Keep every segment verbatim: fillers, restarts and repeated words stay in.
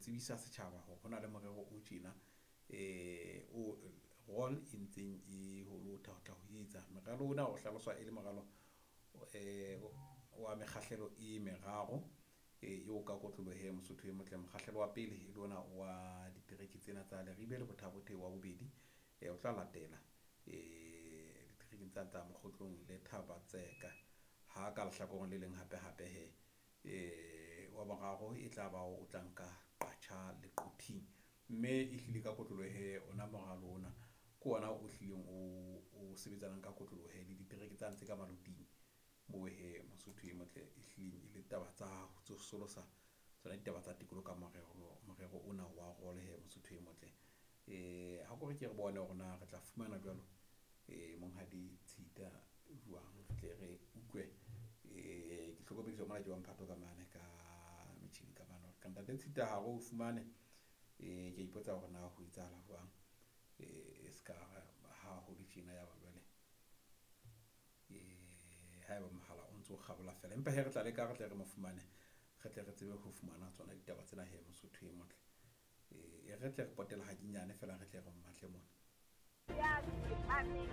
tsebisa setjhaba hore ho na le morero o tjena eh o role e ntseng e ho lotha ho tla ho etsa. Moralo ona o hlaloswa e le moralo eh wa mekgahlelo e meraro e o ka kotlolohe Mosotho e motle. Mokgahlelo wa pele e le ona wa ditereke tsena tsa Leribe le Botha-Bothe, wa bobedi e o tla latela eh diterekeng tsa tsa Mokgotlong le Thaba-Tseka. Ha ka lehlakoreng le leng hape hape he eh wa boraro e tla ba o tla nka Qacha le Quthing, mme e hlile ka kotlolohe ona moralo ona ke ona o hlileng o o sebetsanang ka kotlolohe le ditereke tsa ntse ka maloting moo he Mosotho e motle e hlileng e le taba tsa ho tsosolosa tsona ditaba tsa tikoloho ka morero morero ona wa role he Mosotho e motle. Eh ha ko re ke re bone hore na re tla fumana jwalo eh monghadi Tshita jwang, re tle re utlwe eh ke hlokomediswa mona ke wa mphato ka mane ka metjhini ka mane ka ntate Tshita ha re o fumane eh ke ipotsa hore na ho etsahala jwang eh ska ha ho le tjena ya ba jwale eh haeba mohala o ntso kgabola fela, empa he re tla leka re tle re mo fumane re tle re tsebe ho fumana tsona ditaba tsena he Mosotho e motle. Eh re tle re potela hakinyane fela re tle re mmatle mona ya tsepameng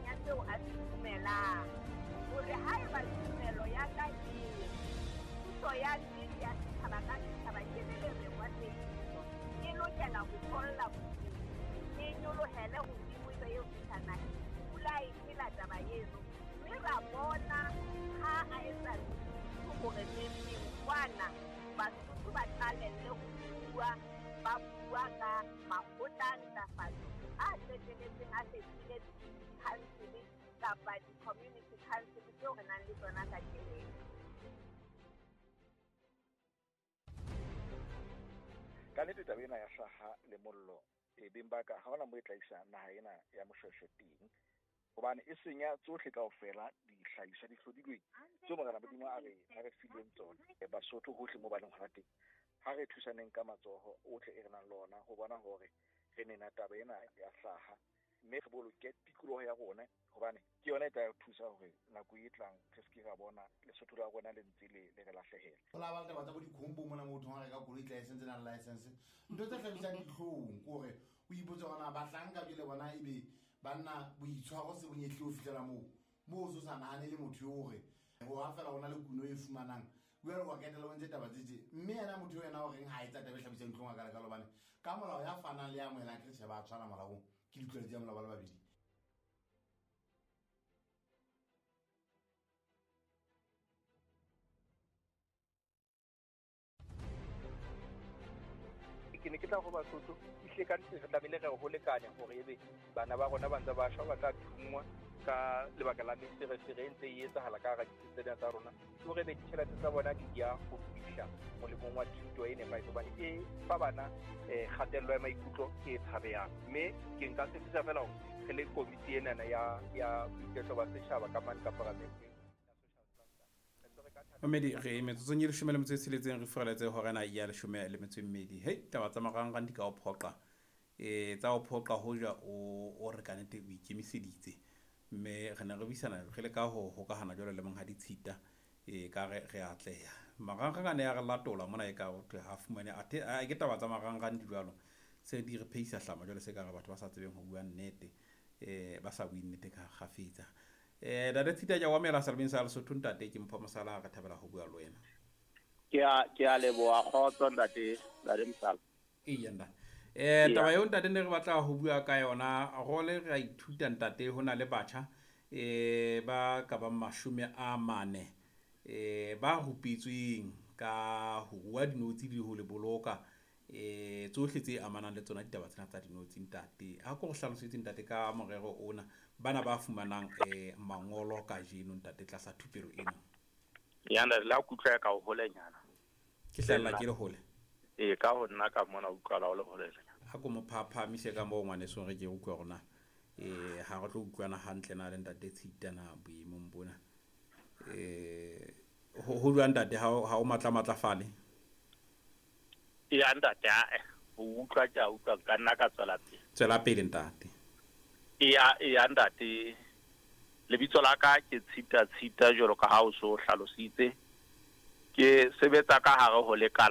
ya tseo a se dumelang hore haeba tumelo ya ka ke puso ya nnete ya setjhaba ka setjhaba ke le lereo tsebiso e lokela ho tholla bodulo e nyolohele hodimo e be eo fihla naheng. Pula e phela taba eno mme ra bona ha a etsa hore neng kwana Basotho ba qalelle ho bua, ba bua ka makgotla a ntlafatso a qetelletseng a fetohile di-council kapa di-community council tseo re nang le tsona kajeno. Ka nnete taba ena ya hlaha le mollo e beng ba ka ha hona moo e tla isa naha ena ya Moshweshwe teng, hobane e senya tsohle kaofela dihlahiswa di hlodilweng tseo Morena Modimo a re a re fileng tsona. Basotho hohle moo ba leng hona teng, ha re thusaneng ka matsoho ohle e re nang le ona ho bona hore re nena taba ena ya hlaha, mme re boloke tikoloho ya rona, hobane ke yona e tla re thusa hore nako e tlang re se ke ra bona Lesotho la rona le ntse le le re lahlehela. Ho la ba le taba tsa bo dikhombo mona motho ha reka koloi license na license ntho tse hlabisang dihlong ke hore o ipotse hore na bahlanka jwale bona ebe banna boitshwaro se bonyehle ho fihlela moo moo o so sa nahane le motho eo hore ho ha fela hona le kuno e fumanang jwale wa ketela o ntse taba tse tje, mme yena motho ena o reng ha etsa taba e hlabisang dihlong a ka leka hobane ka molao ya fanang le ya amohelang ke tjhe ba tshwana molaong ke ditlwaelo tsa molao ba le babedi. Ke ne ke tla ho Basotho ehlile ka nnete re tlamehile re ho lekane hore ebe bana ba rona ba ntse ba shwa ba tla thungwa ka lebaka la meferefere e ntse e etsahala ka hara ditsi tsena tsa rona, ke hore ebe ditjhelete tsa bona di ya ho fihla molemong wa thuto e nepahetseng hobane e fa bana um kgatello ya maikutlo e tshabehang. Mme ke nka tshepisa fela hore re le komiti enana ya ya boiketlo ba setjhaba ka mane ka paramenteng. Mamedi re metsotsong e leshome le metso e tsheletseng re furaletse hora ena ya leshome le metso e mmedi. Hei taba tsa marangrang di ka o phoqa eh tsa o phoqa hoja o o re ka nnete o ikemiseditse, mme re ne re buisana re le ka ho hokahana jwalo le monghadi Tshita eh ka re re atleha. Marangrang a ne a re latola mona e ka ho thwe ha fumane athe a ke taba tsa marangrang di jwalo se di re pheisa hlama jwalo se ka re batho ba sa tsebeng ho bua nnete eh ba sa bue nnete ka kgafetsa. Eh Ntate Tshita ke a o amohela serabeng sa Lesotho ntate ke Mpho Mosala re thabela ho bua le wena. Ke a ke a leboha kgotso ntate ntate Mosala. Eya ntate. Eh taba eo ntate ne re batla ho bua ka yona role re a ithuta ntate ho na le batjha eh ba ka bang mashome a mane eh ba rupetsweng ka ho rua dinotshi le ho le boloka eh tsohle tse amanang le tsona ditaba tsena tsa dinotshi ntate. Ha ko re hlalosetse ntate ka morero ona bana ba fumanang eh mangolo kajeno ntate tlasa thupelo ena. Ya ntate la kutlwa ka ho holenyana. Ke hlalla ke le hole. E ka ho nna ka mona utlwala o le holenyana. Ha ko mo phaphamise ka moo ngwaneso re ke utlwa rona eh ha re tlo utlwana hantle na le ntate Tshita na boemong bona. Eh ho ho jwang ntate ha ha o matla matlafale? Ya ntate a ho utlwa ke a utlwa ka nna ka tswela pele. Tswela pele ntate. Eya eya ntate lebitso la ka ke Tshita Tshita jwalo ka ha o so hlalositse. Ke sebetsa ka hare ho lekala